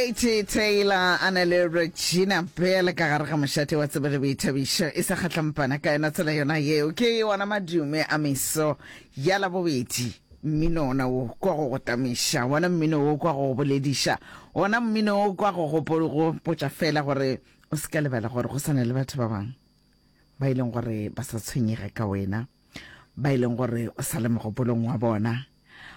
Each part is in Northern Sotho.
Katie Taylor a na le Regina Bell ka gare ga mošate wa tsebo le boithabišo e sa kgatlampana ka yona tsela yona yeo. Ke ona madume a meso ya Labobedi. Mmino ona wo kwa go go tamiša, wona mmino wo kwa go go bolediša, wona mmino wo kwa go go gopotša fela gore o se ka lebala gore go sa na le batho ba bangwe ba e leng gore ba sa tshwenyega ka wena. ba e leng gore o sa le mogopolong wa bona,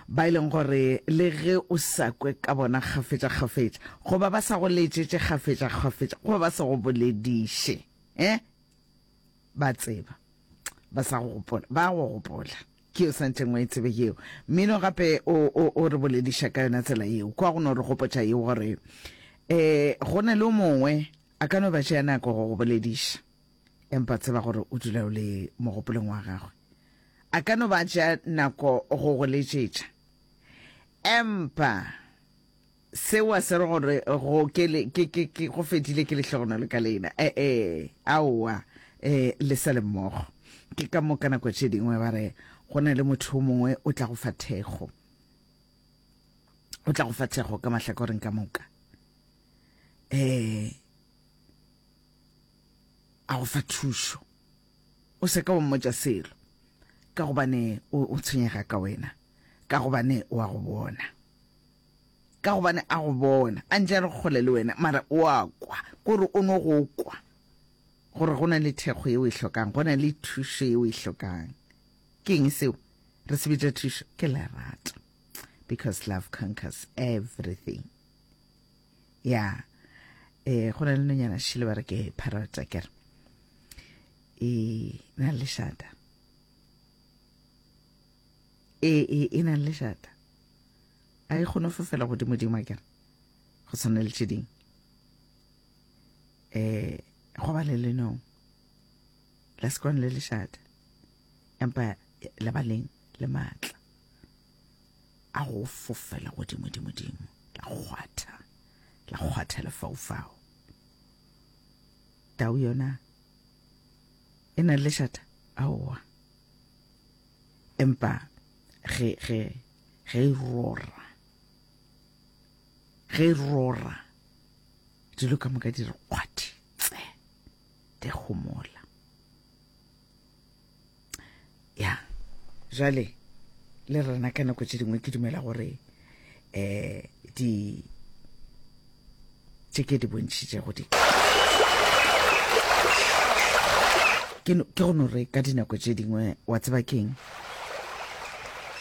ba e leng gore le ge o sa kwe ka bona kgafetša-kgafetša, goba ba sa go letšetše kgafetša-kgafetša, goba ba sa go bolediše, eh? Ba tseba. Ba sa go gopola. Ba go gopola. Ke o santšeng o e tsebe yeo. Mmino gape o, o, o re bolediša ka yona tsela yeo. Kwa go no re gopotša yeo gore, eh, go na le o mongwe a ka no ba tšea nako go go bolediša. Empa tseba gore o dula o le mogopolong wa gagwe. A ka no ba a tšea nako go go letšetša. Empa seo a se re gore go ke le, ke, ke, ke, go fedile ke lehlogonolo ka lena. E-e, aowa, e, le sa le mmogo. Ke ka mo ka nako tše dingwe ba re go na le motho o mongwe o tla go fa thekgo. O tla go fa thekgo ka mahlakoreng ka moka. E, a go fa thušo o se ka wa mmotša selo ka gobane o, o tshwenyega ka wena ka gobane o a go bona ka gobane a go bona a ntše a re kgole le wena mara o a kwa kore o no go kwa gore go na le thekgo yeo e hlokang go na le thušo yeo e hlokang ke eng seo re se bitša thušo ke lerato because love conquers everything ya eh go na le nonyana šile ba re ke parrot a kere e na le lešata e e e na le lešata a e kgone go fofela godimo-dimo a kere go tshwana le tše dingwe um go ba le lenong la se kwane le lešata empa le ba leng le maatla a go fofela godimo-dimo-dimo la kgwatha la kgwatha lefaufau tau yona e na le lešata aowa empa ge ge ge e rora ge e rora dilo ka moka di re kgwathi tse di gomola ya jale le rena ka nako tše dingwe ke dumela gore um di tše ke di bontšhitšego di ke go no re ka dinako tše dingwe wa tseba keng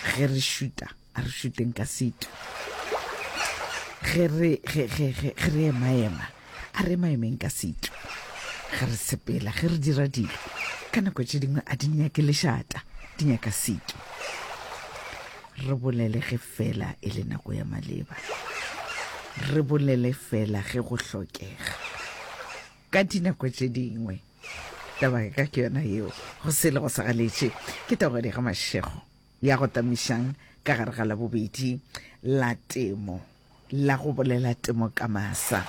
ge re šuta a re šuteng ka setu ge re ge ge ge ge re emaema a re emaemeng ka setu ge re sepela ge re dira dilo ka nako tše dingwe a di nyake lešata di nyaka setu re bolele ge fela e le nako ya maleba re bolele fela ge go hlokega ka dinako tše dingwe taba ka ke yona yeo go sele go sa galetše ke tagodi ga mašego ya go tamišang ka gare ga Labobedi la Temo la go bolela temo ka masa.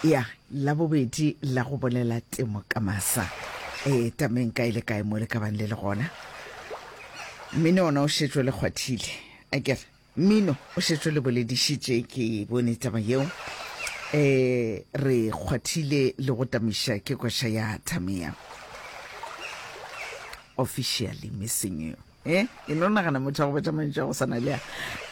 Ya, Labobedi la go bolela temo ka masa. E, tameng kae le kae mo le ka bang le le gona. Mmino ona o šetšwe le kgwathile. Akere, mmino o šetšwe le boledišitše, ke bone taba yeo. E, re kgwathile le go tamiša ke koša ya Thamea. Officially missing you. Eh, e no nagana motho wa go botša mantšu a go swana le a.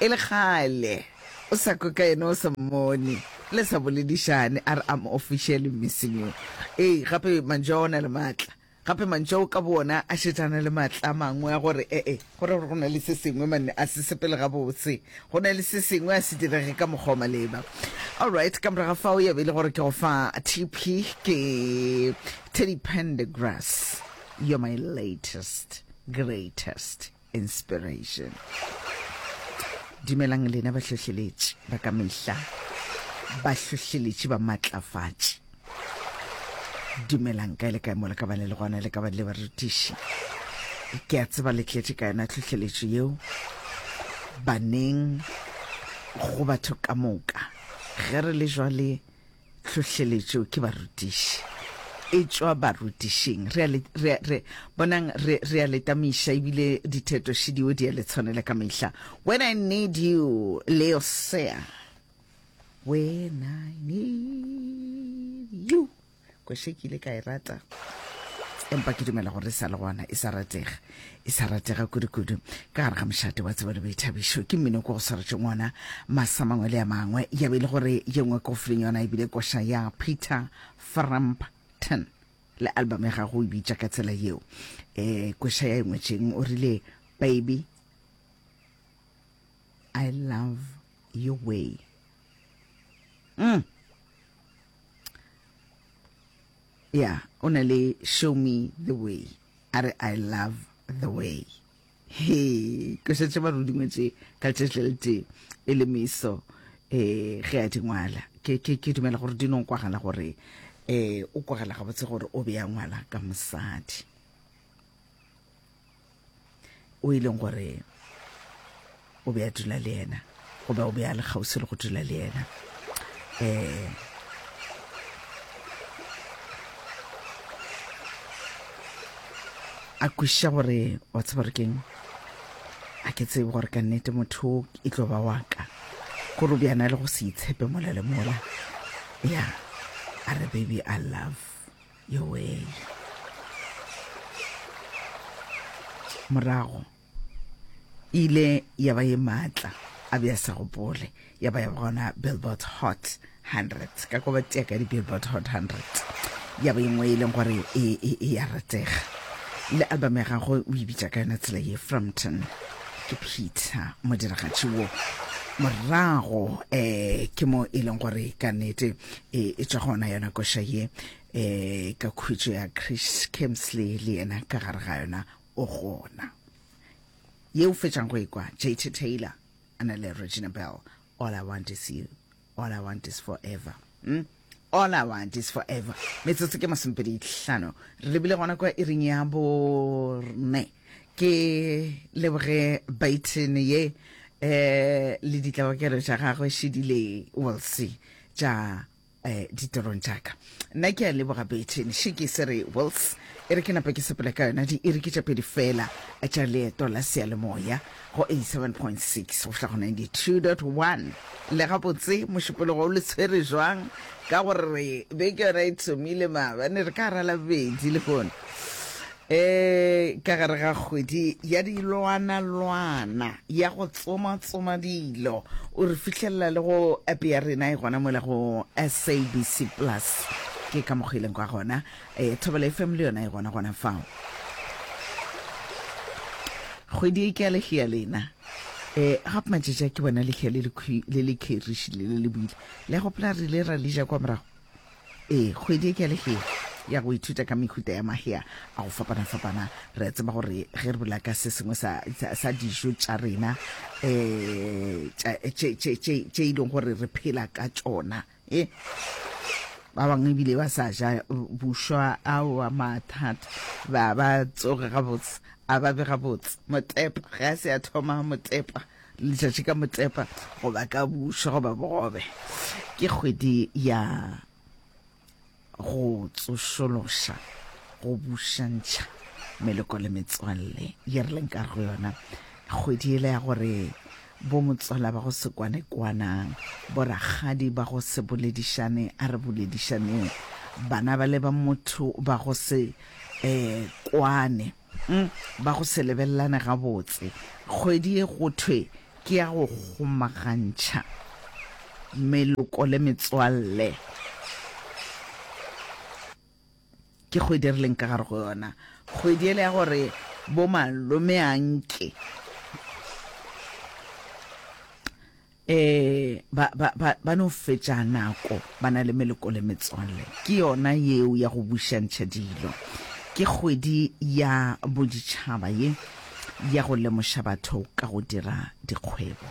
E le kgale o sa kwe ka yena o sa mmone, le sa boledišane, a re I'm officially missing you. Ee, gape mantšu a ona le maatla. Gape mantšu ao ka boona a šetše a na le maatla a mangwe a gore ee, go ra gore go na le se sengwe manne a se sepele gabotse. Go na le se sengwe a se direge ka mokgwa wa maleba. Alright, ka morago ga fao ya be e le gore ke go fa TP ke Teddy Pendergrass. You're my latest, greatest inspiration. Dumelang lena bahlohleletši ba ka mehla, bahlohleletši ba matlafatši. Dumelang kae le kae mo le ka ba le le gona, le ka ba le barutiši. Ke a tseba le tletše ka yona tlhohleletšo yeo baneng go batho ka moka. Ge re le jwale Tlhohleletšo ke barutiši. E tšwa barutišing. Re a le, re, re, bonang, re, re a le tamiša, ebile ditheto šidio di a le tshwanela ka mehla. When I need you, Leosea. When I Need You. Koše ke ile ka e rata empa ke dumela gore e sa le gona e sa ratega e sa ratega kudu-kudu ka gare ga mošate wa tsebo le boithabišo ke mmino ko go swaretšeng ona masa mangwe le a mangwe ya be e le gore ye nngwe ko fileng yona ebile koša ya Peter Frampton le album ya gago o e bitša ka tsela yeo um koša ya e ngwetšeng o rile baby I love your way mm. ya o na le show me the way a re i love the way he ke šetše ba rudingwe tše ka letšatši le letee e le meso um ge a di ngwala ke ke ke dumela gore di no kwagala gore um o kwagala gabotse gore o be a ngwala ka mosadi o e leng gore o be a dula le yena goba o be a le kgauswi le go dula le yena um a kwešiša gore wa tseba gore keng a ke tsebe gore ka nnete motho e tlo ba wa ka gore o bjana le go se itshepe mola le mola ya a re baby i love your way morago e ile ya ba ye maatla a be a sa gopole ya ba ya ba gona billboard hot 100 ka ko ba tea ka di-billboard hot 100 ya ba e nngwe e leng gore e, e, e ya ratega le album ya gagwe o e bitša ka yona tsela ye frampton ke peter modiragatši wo morago um ke mo e leng gore ka nnete e, e tšwa gona yona koša ye um ka khutšo ya chris kemsley le yena ka gare ga yona o gona ye o fetšang go ekwa jt taylor a na le regina bell all i want is you all i want is forever mm? all i want is forever metsotso ke masomepedi hlano re lebile gona kwa iring ya borne ke leboge baiten ye eh le ditlabakelo tša gagwe šedile will see tša eh, ditorong tša ka nna ke a leboga bethene še ke se re wills e re ke nape ke sepele ka yona diiri ke tša pedi fela tša leeto la seyalemoya go 87.6 go fihla go 92.1 le gabotse mošupologo o le tshwere jwang ka gore beke yona e thomile maabane re ka ra labobedi lehono um ka gare ga kgwedi ya dilwanalwana ya go tsomatsoma dilo o re fihlelela le go app ya rena e gona mola go sabc plus ke ka mokgwa e leng kwa gona um thobela fm le yona e gona gona fao kgwedi e ke ya lehea lena um gape matšatši a ke bona lehea le le kheriši le le le buile le gopola re ile ra le ja kwa morago Ee, kgwedi e ke ya lehea ya go ithuta ka mehuta ya mahea a go fapana-fapana. Re a tseba gore ge re bolela ka se sengwe sa, sa, sa dijo tša rena um tše, tše, tše, tše e leng gore re phela ka tšona e ba bangwe ebile ba sa ja bušwa aowa mathata ba ba tsoge gabotse a ba be gabotse motepa ge a se a thoma motepa Letšatši ka motepa goba ka bušwa goba bogobe ke kgwedi ya go tsošološa go bušantšha meloko le metswalle ye re leng ka go yona kgwedi ele ya gore bo motswala ba go se kwane kwanang bo rakgadi ba go se boledišane a re boledišaneng bana ba le ba motho ba go se um kwane Mm, ba go se lebelelane gabotse. Kgwedi ye go thwe ke ya go kgomagantšha meloko le metswalle. Ke kgwedi e re leng ka gare go yona. Kgwedi ele ya gore bo malome anke E, ba, ba, ba, ba no fetša nako ba na le meloko le metswalle. Ke yona yeo ya go bušantšha dilo. Ke kgwedi ya boditšhaba ye ya go lemoša batho ka go dira dikgwebo.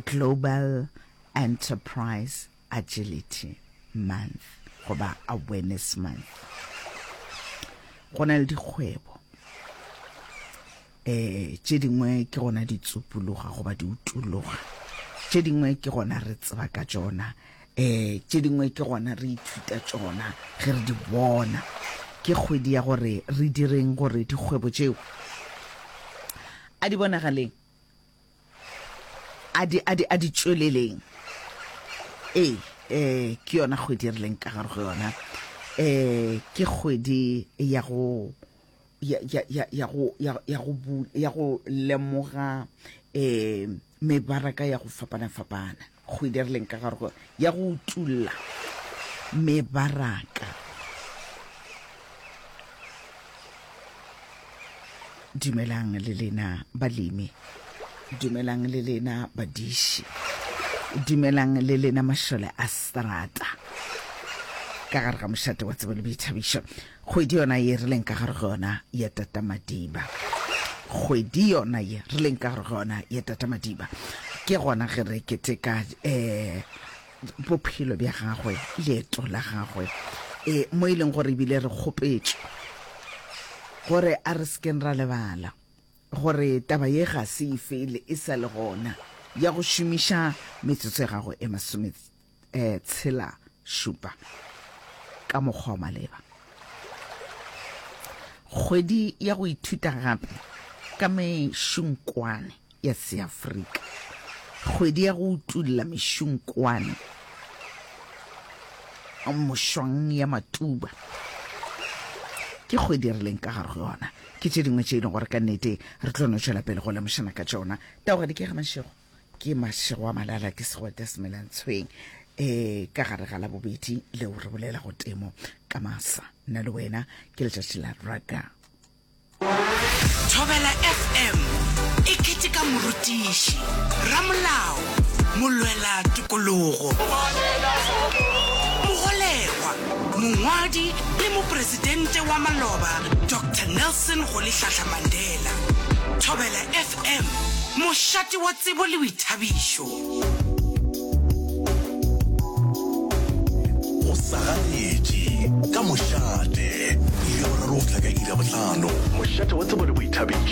Global Enterprise Agility Month goba Awareness Month. Go na le dikgwebo um tše dingwe ke gona di tsupologa goba di utologa tše dingwe ke gona re tseba ka tšona um tše dingwe ke gona re ithuta tšona ge re di bona ke kgwedi ya gore re direng gore dikgwebo tšeo a di bonagaleng a di a di a di tšweleleng. Ee, eh, ke yona kgwedi e re leng ka gare go yona. Eh, ke kgwedi ya go ya ya ya ya go ya ya go bu ya go lemoga eh mebaraka ya go fapana fapana. Kgwedi e re leng ka gare go ya go utulla mebaraka. Dumelang le lena balemi, dumelang le lena badiši, dumelang le lena mašole a strata ka gare ga mošate wa tsebo le boithabišo. Kgwedi yona ye re leng ka gare ga yona ya Tata Madiba, kgwedi yona ye re leng ka gare ga yona ya Tata Madiba, ke gona ge re keteka um bophelo bja gagwe, leeto la gagwe, e, mo e leng gore ebile re kgopetšwe gore a re sekeng ra lebala gore taba ye ga se e fele e sa le gona ya go šomiša metsotso ya gago e masome eh, tshela šupa ka mokgwa wa maleba. Kgwedi ya go ithuta gape ka mešunkwane ya Seafrika, kgwedi ya go utulla mešunkwane mošwang ya Matuba, ke kgwedi e re leng ka gare go yona. Ke tše dingwe tše e leng gore ka nnete re tlo no tšwela pele go lemošana ka tšona. Taogadi ke ga mašego, ke mašego a malala, ke segwete semelantshweng um ka gare ga labobedi leo re bolela go temo ka masa. Nna le wena ke letšatši la raka. Thobela FM e keteka morutiši, ramolao, molwela tokologo, mogolegwa, mongwadi le mopresidente wa maloba Doctor Nelson Rolihlahla Mandela. Thobela FM, mošate wa tsebo le boithabišo. Go sa ganetše ka mošate, iri ya boraro go fihla ka iri ya bohlano. Mošate wa tsebo le boithabišo.